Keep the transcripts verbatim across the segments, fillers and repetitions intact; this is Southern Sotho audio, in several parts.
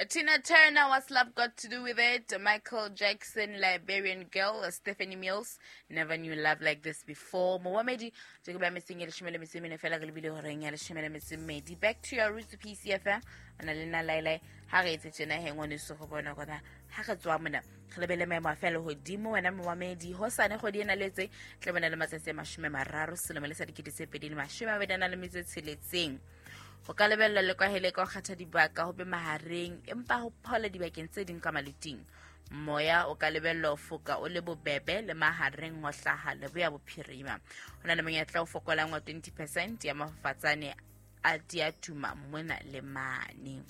Tina Turner, What's Love Got to Do with It? Michael Jackson, Liberian Girl, Stephanie Mills, Never Knew Love Like This Before. Momamedi, Jacob missing leshome le metso e mene fela re lebile horeng ya leshome le metso e mmedi. Back to your roots, P C F M. Ona le nna Lailai, ha re etse tjena he ngwaneso go bona gona ha re tswa mona re lebele maemo a fela hodimo wena momamedi hosane kgwedi ena letse tla bona le matsatsi a mashome mararo selemo le sa dikete tse pedi le mashome a mabedi a nang le metso e tsheletseng. Ho ka lebella le kwahele ka ho kgetha dibaka ho be mahareng empa ho phola dibakeng tse ding ka maluting. Moya o ka lebella ho foka o le bobebe le mahareng ho hlaha leboya bophirima. Ho na le monyetla o fokolang wa twenty percent ya mafafatsane a diatuma mona le mane.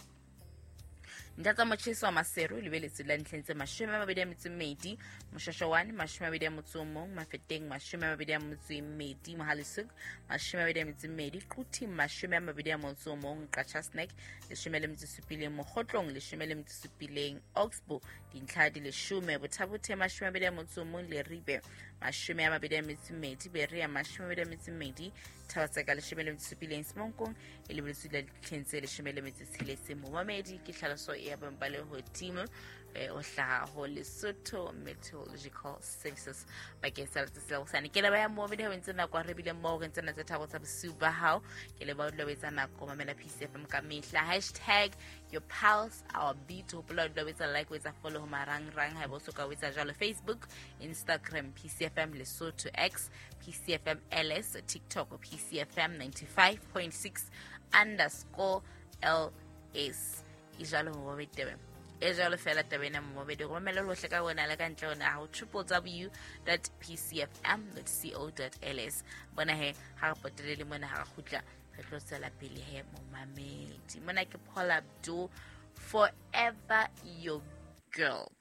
Ntlha tsa motjheso wa Maseru lebeletse la ntlheng tse mashome a mabedi a metso e mmedi, Moshasha one mashome a mabedi a motso o mong, Mafeteng mashome a mabedi a metso e mmedi, Mohale'shoek mashome a mabedi a metso e mmedi, Quthing mashome a mabedi a motso o mong, Qacha's Nek leshome le metso e supileng, Mokhotlong leshome le metso e supileng, Oxbow dintlha di leshome, Botha-Bothe mashome a mabedi a motso o mong, Leribe mashome a mabedi a metso e mmedi, Berea mashome a mabedi a metso e mmedi, Thaba-Tseka leshome le metso e supileng, Semonkong e lebeletswe la ditlheng tse leshome le metso e tsheletseng. Momamedi ke tlhaloso ya boemo ba lehodimo eh, o hlaha ho Lesotho Meteorological Services bakeng sa letsatsi la hosane. Ke leboha momamedi ha o entse nako, re bile moo re ntse na tse tharo tsa bosiu ba hao. Ke leboha o dula o etsa nako mamela P C F M ka mehla. Hashtag your pulse our beat. Hopola o dula o etsa like, o etsa follow ho marangrang haeba o soka o etsa jwalo. Facebook, Instagram, P C F M Lesotho, X, P C F M L S, TikTok, P C F M ninety-five point six underscore L S. E jwalo ho bobe tebe. E jwalo fela taba ena momamedi. Romela lohle ka wena le ka ntle ho naha ho triple w dot p c f m dot co dot l s. Bona he, ha re potele le mona ha re kgutla, re tlo tswela pele he momamedi. Mona ke Paul Abdul, Forever Your Girl.